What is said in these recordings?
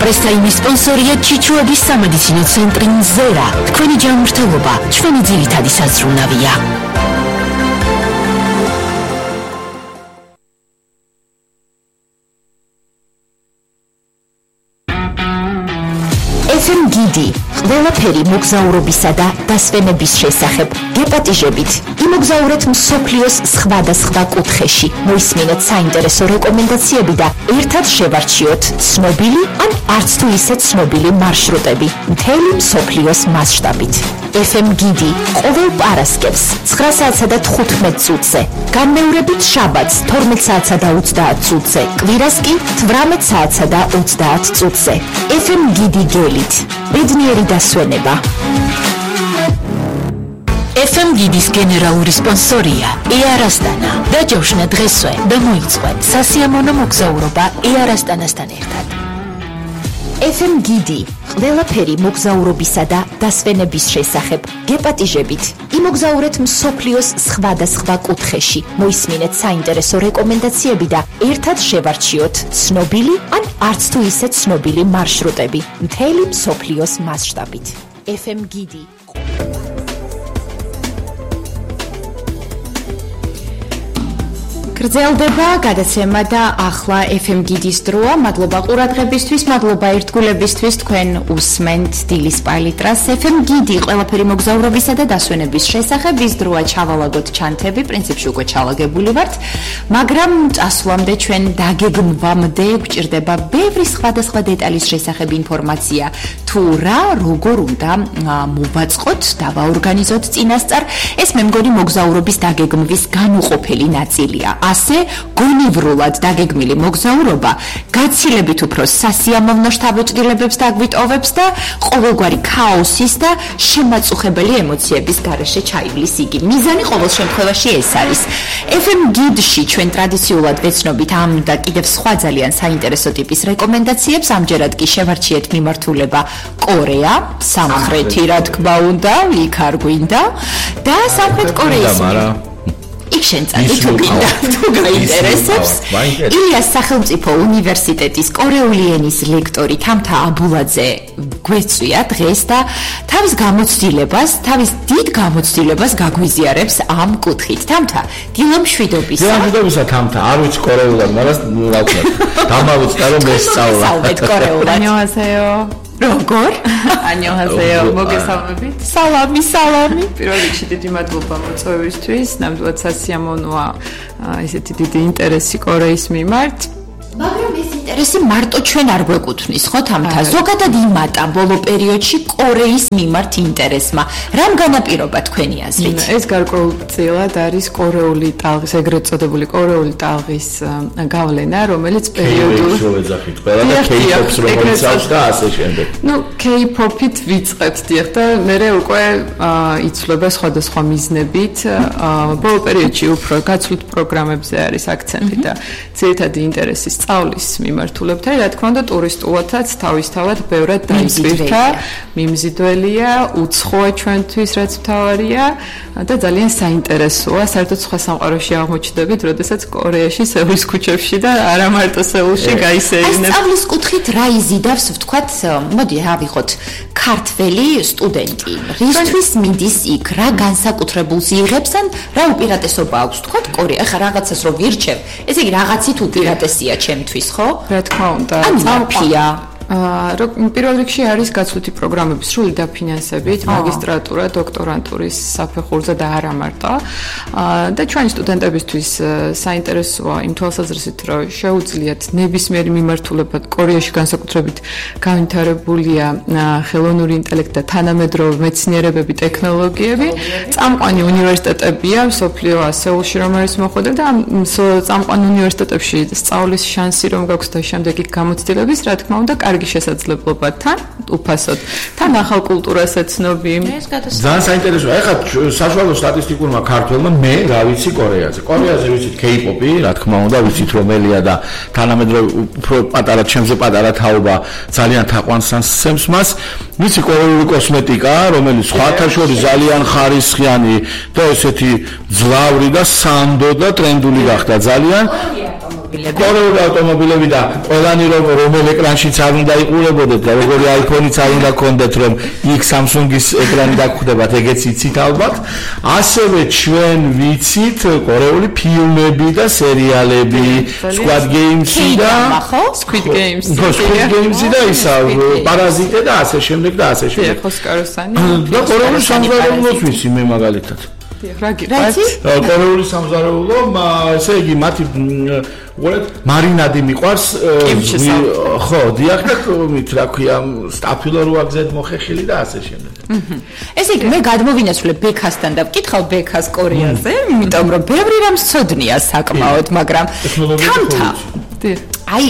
პრესტაიმის სპონსორია ჩიჩუების სამედიცინო ცენტრი ზერა. თქვენი ჯანმრთელობა ჩვენი ძირითადი საზრუნავია. FM გიდი ყველაფერი მოგზაურობისა და დასვენების შესახებ გეპატიჟებით იმოგზაურეთ მსოფლიოს სხვადასხვა კუთხეში მოისმინეთ საინტერესო რეკომენდაციები და ერთად შევარჩიოთ ცნობილი ან არც თუ ისე ცნობილი მარშრუტები მთელი მსოფლიოს მასშტაბით. FM გიდი ყოველ პარასკევს 9 საათსა და 15 წუთზე, განმეორებით შაბათს 12 საათსა და 30 წუთზე, კვირას კი 18 საათსა და 30 წუთზე. FM გიდი გელით ბედნიერი დასვენება. FM გიდის გენერალური სპონსორია ეარასტანა. დაჯავშნა დღესვე და მოიწყო სასიამოვნო მოგზაურობა ეარასტანასთან ერთად. FM გიდი ყველაფერი მოგზაურობისა და დასვენების შესახებ გეპატიჟებით იმოგზაურეთ მსოფლიოს სხვადასხვა კუთხეში მოისმინეთ საინტერესო რეკომენდაციები და ერთად შევარჩიოთ ცნობილი ან არც თუ ისე ცნობილი მარშრუტები მთელი მსოფლიოს მასშტაბით. FM გიდი გრძელდება გადაცემა და ახლა FM გიდის დროა. მადლობა ყურადღებისთვის, მადლობა ერთგულებისთვის. თქვენ უსმენთ დილის პალიტრას. FM გიდი ყველაფერი მოგზაურობისა და დასვენების შესახებ. ის დროა ჩავალაგოთ ჩანთები, პრინციპში უკვე ჩალაგებული ვართ, მაგრამ წასვლამდე ჩვენ დაგეგმვამდე გვჭირდება ბევრი სხვადასხვა დეტალის შესახებ ინფორმაცია. თუ რა, როგორ უნდა მოვაწყოთ, დავაორგანიზოთ წინასწარ, ეს მე მგონი მოგზაურობის დაგეგმვის განუყოფელი ნაწილია. ასე გონივრულად დაგეგმილი მოგზაურობა გაცილებით უფრო სასიამოვნო შთაბეჭდილებებს დაგვიტოვებს და ყოველგვარი ქაოსის და შემაწუხებელი ემოციების გარეშე ჩაივლის იგი. მიზანი ყოველ შემთხვევაში ეს არის. FM გიდში ჩვენ ტრადიციულად ვეცნობით ამ და კიდევ სხვა ძალიან საინტერესო ტიპის რეკომენდაციებს. ამჯერად კი შევარჩიეთ მიმართულება კორეა, სამხრეთი რა თქმა უნდა, იქ არ გვინდა და სამხრეთ კორეის იქ შენ წადი თუ გაინტერესებს. ილიას სახელმწიფო უნივერსიტეტის კორეული ენის ლექტორი თამთა აბულაძე გვეწვია დღეს და თავის დიდ გამოცდილებას გაგვიზიარებს ამ კუთხით. თამთა, დილა მშვიდობისა. თამთა, არ ვიცი კორეულად, მაგრამ რა ვქნა. დამავიწყდა რომ ესწავლა. საუბეთ კორეულად. ანიოჰასეო. როგორ? ანიოჰასეო, მოგესალმებით. სალამი. პირველ რიგში დიდი მადლობა მოწვევისთვის. ნამდვილად სასიამოვნოა ესეთი დიდი ინტერესი კორეის მიმართ. მაგრამ ეს ინტერესი მარტო ჩვენ არ გვეკუთვნის, ხო თამთა? ზოგადად იმატა ბოლო პერიოდში კორეის მიმართ ინტერესმა. რამ განაპირობა თქვენი აზრით? ეს გარკვეულწილად არის კორეული ტალღის, ეგრეთ წოდებული კორეული ტალღის გავლენა, რომელიც პერიოდულად შევეძახით ყველა და K-pop-ს რომელიც აქვს და ასე შემდეგ. K-pop-ით ვიწყებთ დიახ და მერე უკვე იცვლება სხვადასხვა მიზნებით. ბოლო პერიოდში უფრო გაცვლით პროგრამებზე არის აქცენტი და ძირითადი ინტერესი სწავლის მიმართულებთან, რა თქმა უნდა, ტურისტულადაც თავისთავად ბევრად დაისვირთა, მიმზიდველია, უცხოა ჩვენთვის, რაც მთავარია და ძალიან საინტერესოა. საერთოდ სხვა სამყაროში აღმოჩნდებით, როდესაც კორეაში, სეულის ქუჩებში და არა მარტო სეულში გაისეირნებ. სწავლის კუთხით რა იზიდავს, ვთქვათ, მოდი ავიღოთ ქართველი სტუდენტი. რისთვის მიდის იქ, რა განსაკუთრებულს იღებს ან რა უპირატესობა აქვს, ვთქვათ, კორეა, ხა რაღაცას რო ვირჩევ, ესე იგი რაღაცით უპირატესია ჩემთვის, ხო? რა თქმა უნდა, წამფია. პირველ რიგში არის გაცვლითი პროგრამები სრული დაფინანსებით, მაგისტრატურა, დოქტორანტურის საფეხურზე და არა მარტო. და ჩვენი სტუდენტებისთვის საინტერესოა იმ თვალსაზრისით, რომ შეუძლიათ ნებისმიერი მიმართულება კორეაში განსაკუთრებით განვითარებულია ხელოვნური ინტელექტი და თანამედროვე მეცნიერებები, ტექნოლოგიები. წამყვანი უნივერსიტეტებია, მსოფლიო სეულში რომ არის მოხვედრა და წამყვანი უნივერსიტეტებში სწავლის შანსი რომ გაქვს და შემდეგ იქ გამოცდილების, რა თქმა უნდა, კარგი შესაძლებლობა თან უფასოდ. თან ახალ კულტურას ეცნობი. ძალიან საინტერესოა. ეხლა საშუალო სტატისტიკურმა ქართველმა მე რა ვიცი კორეაზე. კორეაზე ვიცით K-pop-ი, რა თქმა უნდა, ვიცით რომელია და თანამედროვე უფრო პატარა ჩემზე პატარა თაობა ძალიან თაყვანს სცემს მას. ვიცი კორეული კოსმეტიკა, რომელიც სხვათა შორის ძალიან ხარისხიანი და ესეთი ძლავრი და სანდო და ტრენდული გახდა ძალიან. ავტომობილები. კორეული ავტომობილები და ყველანი რომელ ეკრანშიც არ უნდა იყურებოდეთ და როგორი iPhone-იც არ უნდა გქონდეთ, რომ იქ Samsung-ის ეკრანი დაგხვდებათ, ეგეც იცით ალბათ. ასევე ჩვენ ვიცით კორეული ფილმები და სერიალები, Squid Games-ი და Squid Games და ისა პარაზიტე და ასე შემდეგ და ასე შემდეგ. ხოსკაროსანი და კორეული სამზარეულოს ვიცი მე მაგალითად. კორეული სამზარეულო, ესე იგი მათი მარინადი მიყვარს ხო, დიახ და მით რა ქვია, სტაფილო რო აგზეთ მოხეხილი და ასე შემდეგ. ესე იგი მე გადმოვინაცვლებ ბექასთან და ვკითხავ ბექას კორეაზე, იმიტომ რომ ბევრი რამ სწოდნია საკმაოდ, მაგრამ თამთა აი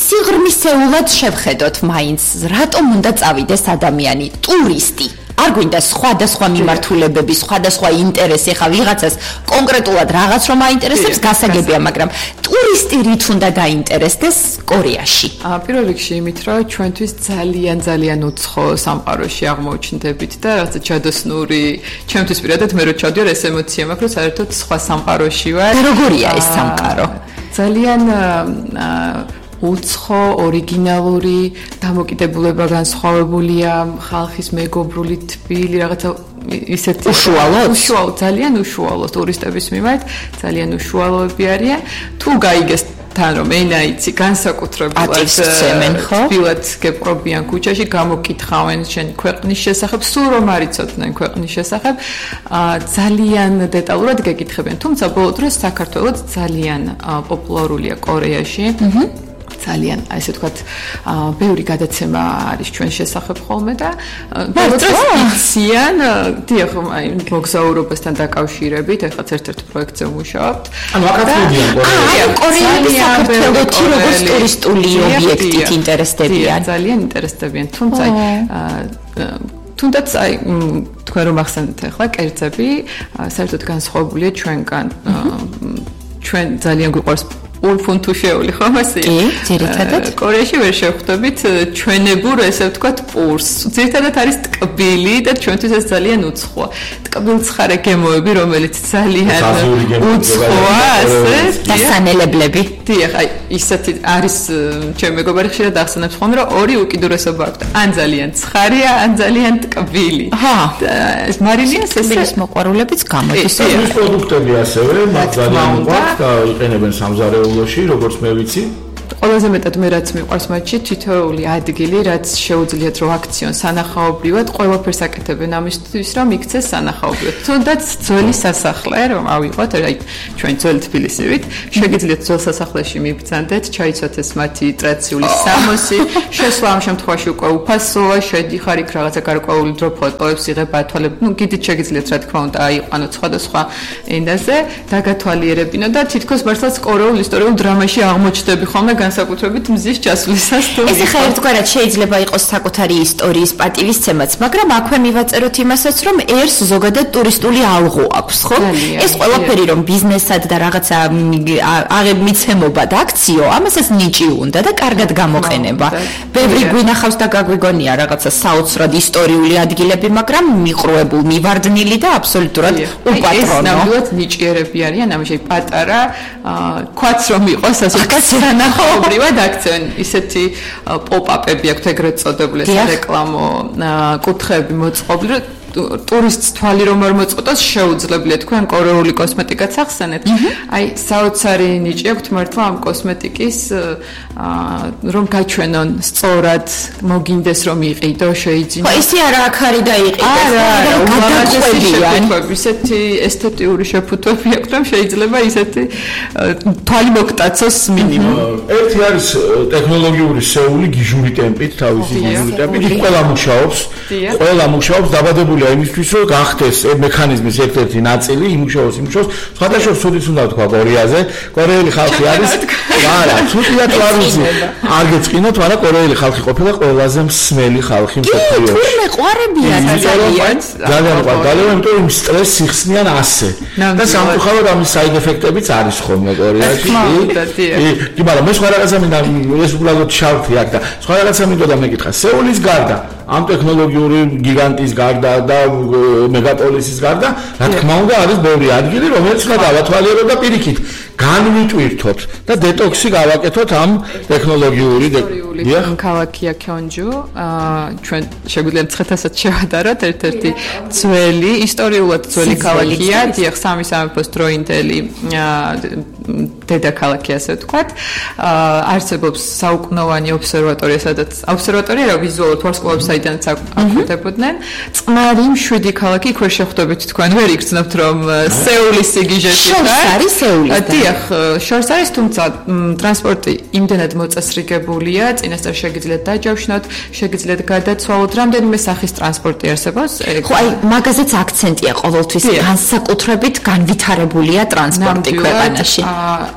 სიღრმისეულად შევხედოთ მაინც რატომ უნდა წავიდეს ადამიანი ტურისტი არ გვინდა სხვადასხვა მიმართულებები, სხვადასხვა ინტერესი, ხა ვიღაცას კონკრეტულად რაღაც რომ აინტერესებს, გასაგებია, მაგრამ ტურისტი რით უნდა დაინტერესდეს კორეაში? პირველ რიგში იმით, რომ ჩვენთვის ძალიან უცხო სამყაროში აღმოჩნდებით და რაღაცა ჯადოსნური, ჩემთვის პირადად მე რო ჩავდიარ ეს ემოცია მაქვს, რომ საერთოდ სხვა სამყაროში ვარ. და როგორია ეს სამყარო? ძალიან უცხო, ორიგინალური, დამოკიდებულება განსხვავებულია, ხალხის მეგობრული თბილი, რაღაცა ისეთი უშუალო, ძალიან უშუალო ტურისტების მიმართ, ძალიან უშუალოები არიან. თუ გაიგეს თან რომ ენა იცი, განსაკუთრებულად თბილად გეპყრობიან ქუჩაში, გამოკითხავენ შენ ქვეყნის შესახებ, სულ რომ არ იცოდნენ ქვეყნის შესახებ, ძალიან დეტალურად გეკითხებიან. თუმცა ბოლო დროს საქართველოს ძალიან პოპულარულია კორეაში. ძალიან, ასე ვთქვათ, ბევრი გადაცემა არის ჩვენ შესახებ ხოლმე და ბოლოს იციან, დიახ, აი მოგზაურობასთან დაკავშირებით, ეხლა ერთ-ერთ პროექტზე ვმუშაობთ. ანუ აქაც მოდიან კორეელები საქართველოში როგორც ტურისტული ობიექტით ინტერესდებიან. ძალიან ინტერესდებიან, თუნდაც აი თქვენ რომ ახსენეთ ახლა კერძები, საერთოდ განსხვავებულია ჩვენგან. ჩვენ ძალიან გვიყვარს ფუნთუშეული ხომ ასე? კი, ძირითადად. კორეაში ვერ შევხვდებით ჩვენებურ, ესე ვთქვათ, პურს. ძირითადად არის ტკბილი და ჩვენთვის ეს ძალიან უცხოა. ტკბილცხარე გემოები, რომელიც ძალიან უცხოა, ასე და სანელებლები. დიახ, აი ისეთი არის ჩემი მეგობარი ხშირად ახსენებს ხოლმე, რომ ორი უკიდურესობა აქვს. ან ძალიან ცხარია, ან ძალიან ტკბილი. ეს მარილიას ეს მოყვარულებიც გამოდის. ეს პროდუქტები ასევე მათ ძალიან უყვართ და იყენებენ სამზარეულოში, როგორც მე ვიცი. ყველაზე მეტად მე რაც მიყვარს მათში თითოეული ადგილი, რაც შეუძლიათ რომ აქციონ სანახაობრივად, ყველაფერს აკეთებენ ამისთვის, რომ იქცეს სანახაობრივად. თუნდაც ძველი სასახლე, რომ ავიღოთ, აი ჩვენ ძველი თბილისივით, შეგიძლიათ ძველ სასახლეში მიბრძანდეთ, ჩაიცვათ ეს მათი ტრადიციული სამოსი, შესვლა ამ შემთხვევაში უკვე უფასოა, შედიხარ იქ რაღაცა გარკვეული დრო ფოტოებს იღებ, ათვალებ, ну კიდით შეგიძლიათ რა თქმა უნდა აიყვანოთ სხვადასხვა ენაზე, დაგათვალიერებინო და თითქოს მართლაც კორეულ ისტორიულ დრამაში აღმოჩნდები ხოლმე განსაკუთრებით მზის ჩასვლისას თუ ეს ხა ერთგვარად შეიძლება იყოს საკუთარი ისტორიის პატივისცემაც, მაგრამ აქვე მივაწეროთ იმასაც, რომ ერს ზოგადად ტურისტული ალღო აქვს, ხო? ეს ყველაფერი რომ ბიზნესად და რაღაცა მიცემობა და აქციო, ამასაც ნიჭი უნდა და კარგად გამოყენება. ბევრი გვინახავს და გაგვიგონია რაღაცა საოცრად ისტორიული ადგილები, მაგრამ მიყრუებულ, მივარდნილი და აბსოლუტურად უპატრონო. ეს ნამდვილად ნიჭიერები არიან, ამაში პატარა ქვაც რომ იყოს ასე სანახაობრივად აქცენ ისეთი პოპ-აპები აქვს ეგრეთ წოდებული რეკლამო კუთხეები მოწყობილი ტურისტს თვალი რომ არ მოწყոտოს შეუძლებელია თქვენ კორეული კოსმეტიკაც ახსენეთ. აი საოცარი ნიჭი აქვს მართლა ამ კოსმეტიკის რომ გაჩვენონ სწორად მოგინდეს რომ იყიდო შეიძინო. ხო, ისე არა აქ არის და იყიდოს. არა, ისეთი ესთეტიური შეფუთვები აქვს რომ შეიძლება ისეთი თვალი მოგტაცოს მინიმუმ. ერთი არის ტექნოლოგიური სეული გიჟური ტემპით, თავისი გიჟური ტემპით, ყველა მუშაობს დაბადებული იმისთვის რომ გახდეს მექანიზმის ერთ-ერთი ნაწილი იმუშაოს სხვადასხვა სუდის უნდა თქვა კორეაზე კორეელი ხალხი არის არა ცუდია თუ არ ვიცი არ გეწყინოთ მაგრამ კორეელი ხალხი ყოფილა ყველაზე მსმელი ხალხი მსოფლიოში თუ მეყვარებიან ძალიან იმიტომ რომ სტრესს იხსნიან ასე და სამწუხაროდ ამის საიდ ეფექტებიც არის ხოლმე კორეაში კი მაგრამ მე სხვა რაღაცა მინდა ეს უბრალოდ შავთი აქ და სხვა რაღაცა მინდოდა მეკითხა სეულის გარდა ამ ტექნოლოგიური გიგანტის გარდა და მეგაპოლისის გარდა, რა თქმა უნდა, არის ბევრი ადგილი, რომელიც უნდა დავათვალიერო და პირიქით. განვიტვირთოთ და დეტოქსი გავაკეთოთ ამ ტექნოლოგიური ქალაქია ქონჯუ. ჩვენ შეგვიძლია მცხეთასაც შევადაროთ ერთ-ერთი ძველი, ისტორიულად ძველი ქალაქია, დიახ, სამი სამეფოს დროინდელი დედაქალაქი ასე ვთქვათ. არსებობს საუკუნოვანი ობსერვატორია, სადაც ობსერვატორია რა ვიზუალურად ვარსკვლავებს საიდანაც აკვირდებოდნენ. წყნარი მშვიდი ქალაქი, იქ ვერ შეხვდებით თქვენ, ვერ იგრძნობთ რომ სეულის სიგიჟეში ხარ. შორს არის სეულის. დიახ, შორს არის, თუმცა ტრანსპორტი იმდენად მოწესრიგებულია, წინასწარ შეგიძლიათ დაჯავშნოთ, შეგიძლიათ გადაცვალოთ, რამდენიმე სახის ტრანსპორტი არსებობს. ხო, აი, მაგაზეც აქცენტია ყოველთვის, განსაკუთრებით განვითარებულია ტრანსპორტი ქვეყანაში.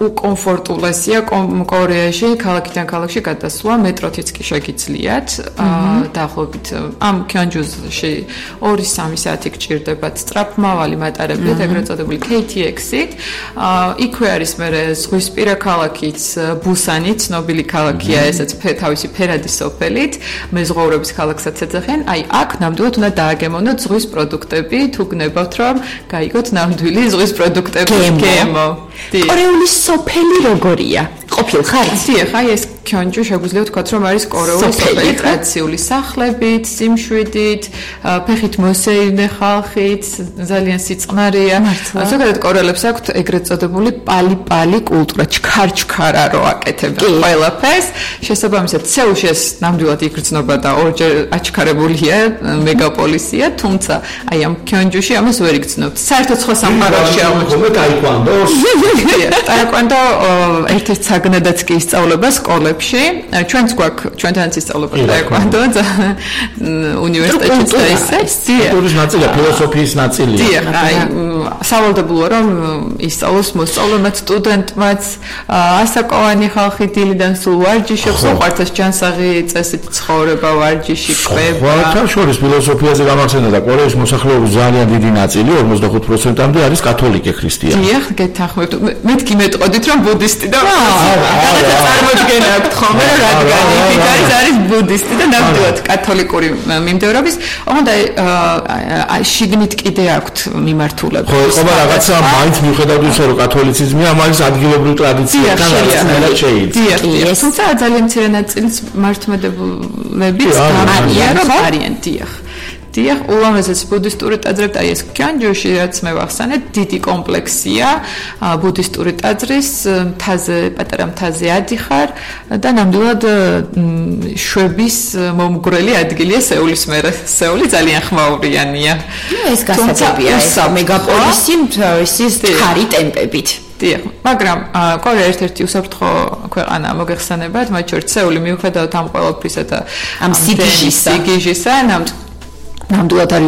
უკომფორტულესია კორეაში, ქალაქიდან ქალაქში გადასვლა, მეტროთიც კი შეგიძლიათ. დაახლოებით ამ ქონჯუში 2-3 საათი გჭირდებათ სწრაფმავალი მატარებლით, ეგრეთ წოდებული KTX-ით. იქვე არის მე ზღვისპირა ქალაქიც, ბუსანი, ცნობილი ქალაქია, ესაც თავისი ფერადი სოფელით, მეზღვაურების ქალაქსაც ეძახიან. აი, აქ ნამდვილად უნდა დააგემოვნოთ ზღვის პროდუქტები, თუ გნებავთ რომ გაიგოთ ნამდვილი ზღვის პროდუქტები, GMO. კორეული სოფელი როგორია? ყოფილ ხარ? დიახ, აი ეს ქონჯუ შეგვიძლია ვთქვათ, რომ არის კორეული სოფელი ტრადიციული სახლებით, სიმშვიდით, ფეხით მოსეირნე ხალხით, ძალიან სიწყნარია. ზოგადად კორეელებს აქვთ ეგრეთ წოდებული პალი-პალი კულტურა, ჩქარ-ჩქარა რო აკეთებენ ყველაფერს. შესაბამისად, სეულში ეს ნამდვილად იგრძნობა და ორჯერ აჩქარებულია, მეგაპოლისია, თუმცა აი ამ ქონჯუში ამას ვერ იგრძნობთ. საერთოდ სხვა სამყაროში აღმოჩნდა ტაიკვანდოს. ტაიკვანდო ერთ-ერთი საგნადაც კი ისწავლება სკოლებში. ჩვენც გვაქვს, ჩვენთანაც ისწავლება ტაიკვანდო უნივერსიტეტში და ისე. კულტურის ნაწილია, ფილოსოფიის ნაწილია. დიახ, აი სავალდებულოა რომ ისწავლოს მოსწავლემაც, სტუდენტმაც, ასაკოვანი ხალხი დილიდან სულ ვარჯიშობს, უყვართ ჯანსაღი წესით ცხოვრება, ვარჯიში, კვება. ხვალთან შორის ფილოსოფიაზე გამახსენდა და კორეის მოსახლეობის ძალიან დიდი ნაწილი, 45%-მდე არის კათოლიკე ქრისტიანი. დიახ, გეთანხმებთ. მეთქი მეტყოდით რომ ბუდისტი და წარმოდგენა აქვს ხოლმე, რადგან იქით არის ბუდისტი და ნამდვილად კათოლიკური მიმდევრობის, ოღონდ აი შიგნით კიდე აქვს მიმართულება. ხო, ყობა რაღაცა მაინც მიუხედავად იმისა, რომ კათოლიციზმია, ამას ადგილობრივ ტრადიციებთან რაღაცნაირად შეიძლება. დიახ, თუმცა ძალიან მცირე ნაწილის მართლმადებლებით გამარია, რომ არიან, დიახ. დიახ, ულამაზეს ბუდისტური ტაძრები, აი ეს ქონჯუში, რაც მე ვახსენეთ, დიდი კომპლექსია ბუდისტური ტაძრის, მთაზე, პატარა მთაზე ადიხარ და ნამდვილად შვების მომგვრელი ადგილია სეულის მერე. სეული ძალიან ხმაურიანია. ეს გასაგებია, ეს მეგაპოლისი ის ხარი ტემპებით. დიახ, მაგრამ კორეა ერთ-ერთი უსაფრთხო ქვეყანა მოგეხსენებათ, მათ შორის სეული მიუხედავად ამ ყველაფრისა და ამ სიგიჟისა, ნამდვილად არის